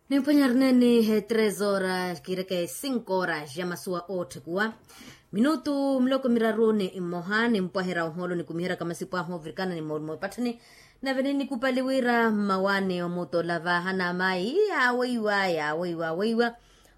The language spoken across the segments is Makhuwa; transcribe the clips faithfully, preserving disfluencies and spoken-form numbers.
Nimphwanya rineeni he tres horas kiireke cinco horas ya masuwa ootthekuwa minutu miloko miraru ni mmoha nimpwaherya ohoolo nikumiheryaka masipu ahu oovirikana ni moolumo epatthani. Nave ninnikupali wira mmawaani omutola vaahana amayi yaawoiwa yaawoiwa awoiwa.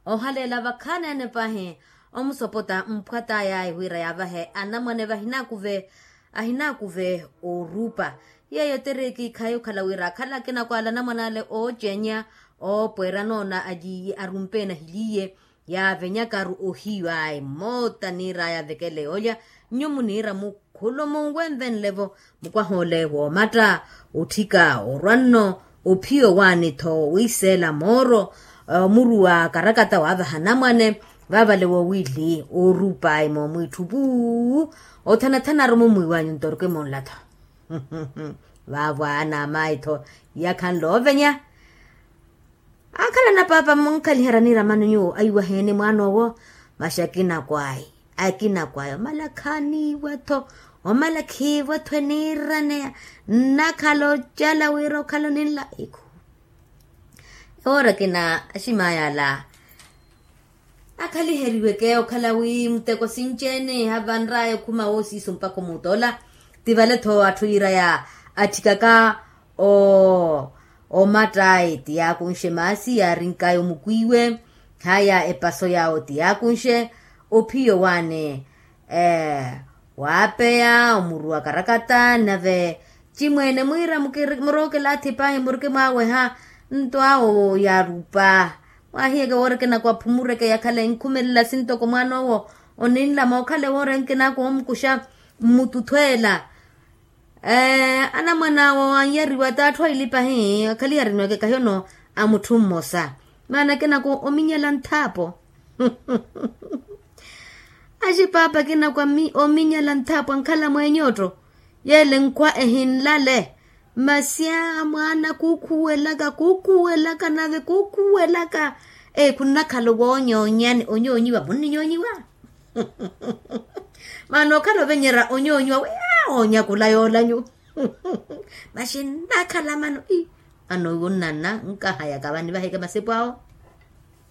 Ohaleela vakhaneene pahi omusopota mphwataya wira yaavahe anamwane vahinakuve ahinakuve orupa. Yeeyo teriye kiikhayi okhala wira akhala akinakwala anamwane ale ooceenya oopweera noona aliiye arumpe nahiliiye yaavenyakaru ohiyu ayi mmoota niir'aya avekele yoolya. Nyumu niira mukhulumu wenvenle-vo mukwaha ole woomatta otthika orwa nno ophiya owaani-tho wiiseela mooro omuruwa karakata waavaha anamwane vaavale woowili orupa ayi moomwiitthu puu. Othanathanaru mumwiiwanyu nto orukimula-tho vaavo anaamayi-tho yakhanle oovenya. Akhala na paapa munkhalihara niira mano nyuwo aiwaheeni mwaan'owo. Masi akinakwaayi akinakwaayi omala khaaniiwa-tho omala khiiwa-tho eniiraneya nnakhala ocala wira okhala oninla ikhu. Ewoora ekina aximaya ala akhaliheriweke okhala wi muteko sinci-ene havanr'aya okhuma woosiiso mpakha omutola. Ti vale-tho atthu yiiraya atthikaka omattayi ti yaakunxe maasi yaarink'aya omukwiiwe haya epaso yaawo ti yaakunxe ophiya owaani waapeya omuruwa karakata nave cimweene mwiira murookela atthi pahi murikimwaaweha nto awo yaarupa. Mwaahiyeke woorikina kwaphumureke yakhale enkhumelela sintoko mwaan'owo oninla mookhale woora enkinaku oomukuxa mmututhweela. Anamwan'awo anyariwa t'atthu aili pahi akhalihari nweke kahiyono a mutthu mmosa maana akinaku ominyala nthaapo. Axipaapa akinaku ominyala nthaapo ankhala mweeny'otto yeele nkhwa ehinlale. Masi a mwaana kuukhuwelaka kuukhuwelaka nave kuukhuwelaka. Eyi khunnakhala owoonyonyani onyoonyiwa munninyoonyiwa. Maana okhala ovenyerya onyoonyiwa wi aa oonyakula yoolanyu. Masi nnakhala mano ii mano iwo nnanna nkahayaka vani vaheke masipu awo.